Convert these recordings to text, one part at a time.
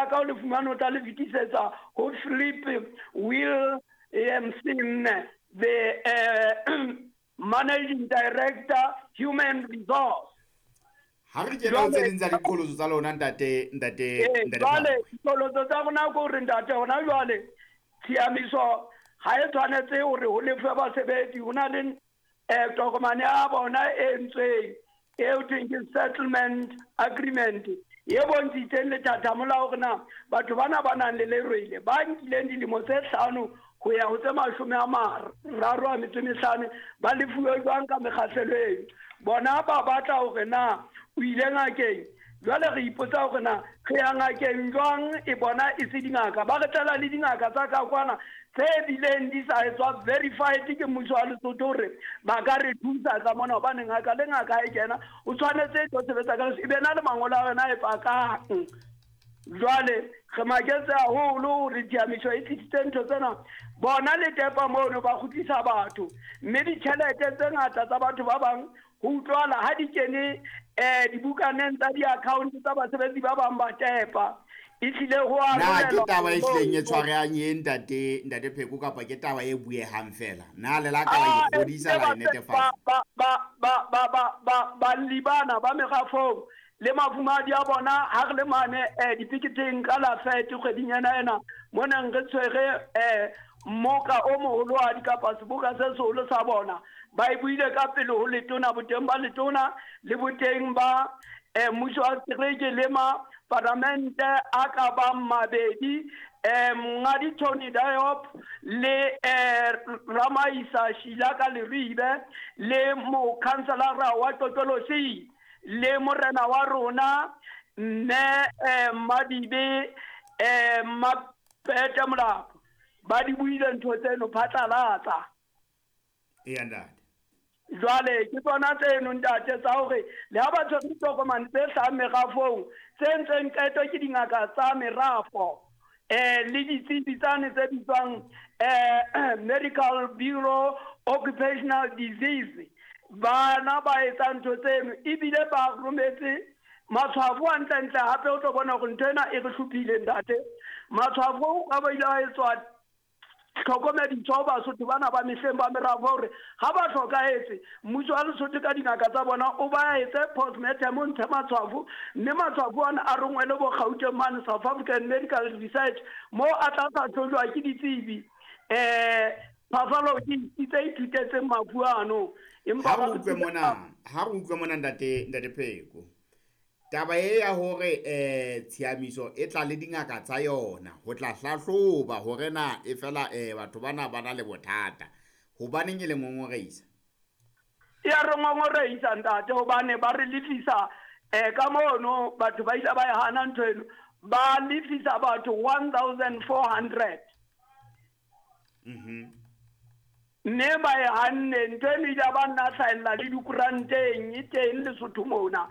ka o le fumane o tla le fetisetsa ho Philip Williamson, the managing director, human resource. Ha re kena ho tse ding tsa diqholotso tsa lona, ntate ntate ntate Jwale Phakwe. Diqholotso tsa rona ke hore, ntate, hona jwale tshiamiso ha e tshwanetse hore ho lefe basebetsi. Ho na le tokomane ya bona e entsweng e ho thweng ke settlement agreement, e bontshitseng lethathamo la hore na batho bana ba nang le lerwele ba nkileng dilemo tse 5 ho ya ho tse 35 ba lefuwe jwang ka mekgahlelo eno. Bona ba batla hore na o ile ngakeng. Jwale re ipotsa hore na re ya ngakeng jwang, e bona e se dingaka. Ba re tlela le dingaka tsa ka kwana tse bileng di sa etswa verified ke mmuso wa Lesotho hore ba ka re thusa ka mona, hobane ngaka le ngaka ha e kena o tshwanetse e tlo sebetsa ka e be na le mangolo a yona e pakang. Jwale re maketse haholo hore tshiamiso e tlisitse ntho tsena. Bona le tepa mono ba kgutlisa batho, mme ditjhelete tse ngata tsa batho ba bang ho utlwala ha di kene dibukaneng tsa di-account tsa basebetsi ba bang ba tepa. E hlile ho a Na ke arolelwa taba e hlileng e moo. tshwarehang e, ntate Pheko, kapa ke taba e buehang fela? Na le la ka la Ah, ikgodisa ehlile la e netefatsa? Balli bana ba merafong le mafumahadi a bona, ha re le mane dipiketeng ka la fete kgweding ena ena mo neng re tshwere mmoka o moholohadi kapa seboka se seholo sa bona, ba e buile ka pele ho letona, boteng ba letona le boteng ba mmuso wa setereke le ma paramente a ka bang mabedi, Monghadi Tony Diop le Ramaisa Sheila ka Leribe le mokhanselara wa Totolosi le morena wa rona mme Madibe Mapete Molapo. Ba di buile ntho tseno phatlalatsa. Eya, ntate. Jwale ke tsona tseno, ntate, tsa hore le ha ba tshwere ditokomane tse hlahang merafong tse ntseng qeto ke dingaka tsa merafo le ditsebi tsane tse bitswang Medical Bureau Occupational Disease, bana ba etsa ntho tseno ebile ba rometse matshwafo hantlentle. Hape o tlo bona hore ntho ena e re hlophile, ntate. Matshwafo ka ba ile ba etswa tlhokomediso ho Basotho bana ba mehleng ba merafo hore ha ba hlokahetse, mmuso wa Lesotho ka dingaka tsa bona o ba etse postmortem, o ntshe matshwafo, mme matshwafo ana a rongwele bo Gauteng mane South African Medical Research mo a tla hlahlojwa ke ditsebi pathology tse ithutetseng mafu ano. Empa Ha ba re re utlwe thusa. Mona, ha re utlwe mona, ntate Pheko, taba e ya hore tshiamiso e tla le dingaka tsa yona ho tla hlahloba hore na e fela batho bana ba na le bothata, hobaneng e le ngongoreisa? E ya re ngongoreisa, ntate, hobane ba re lefisa ka mono. Batho ba ile ba e hana ntho eno. Ba lefisa batho 1400, mme ba e hanne ntho eno. Ile ba nna hlahella le dikoranteng, e teng Lesotho mona.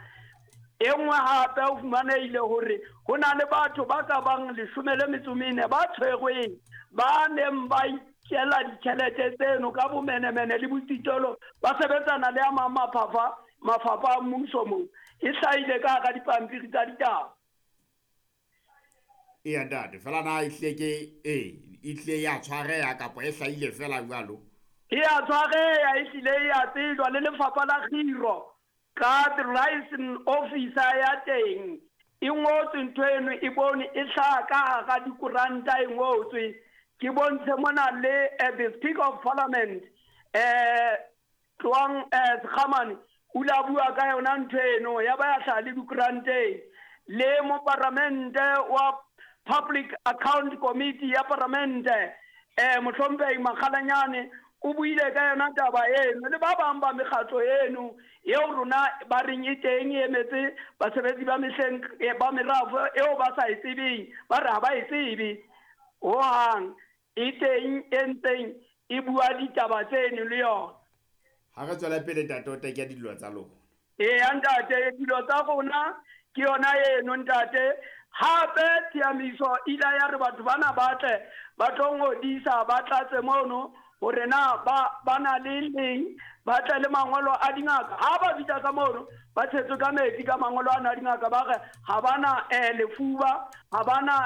E nngwe hape o fumanehile hore ho na le batho ba ka bang 14 ba tshwerweng, ba neng ba ikela ditjhelete tseno ka bomenemene le botsitolo, ba sebetsana le a mang mafapha a mmuso moo. E hlahile ka hara dipampiri tsa ditaba. Eya, ntate, fela na e hlile ke e hlile ya tshwareha kapa e hlahile fela jwalo? E ya tshwareha, e hlile e ya tsejwa le lefapha la kgiro ka the liaison officer ya teng. E ngotswe ntho eno, e bone e hlaha ka hara dikoranta, e ngotswe. Ke bontshe mona le the Speaker of Parliament, Tloang Sekhamane, o ile a bua ka yona ntho eno, ya ba ya hlaha le dikoranteng. Le moparamente wa Public Account Committee ya paramente, mohlomphehi Makgalanyane, o buile ka yona taba eno, le ba bang ba mekgatlo eno eo rona ba reng e teng e emetse basebetsi ba mehleng ba merafo eo ba sa e tsebeng, ba re ha ba e tsebe hohang. E teng e ntseng e bua ditaba tseno le yona. Ha re tswela pele, ntate, o teke dillo tsa lona. Eya, ntate, dilo tsa rona ke yona eno, ntate. Hape tshiamiso ile ya re batho bana ba tle ba tlo ngodisa, ba tlatse mono hore na ba na le leng, ba tle le mangolo a dingaka. Ha ba fihla ka mono ba tshetswe ka metsi ka mangolo ana a dingaka, ba re ha ba na lefuba, ha ba na.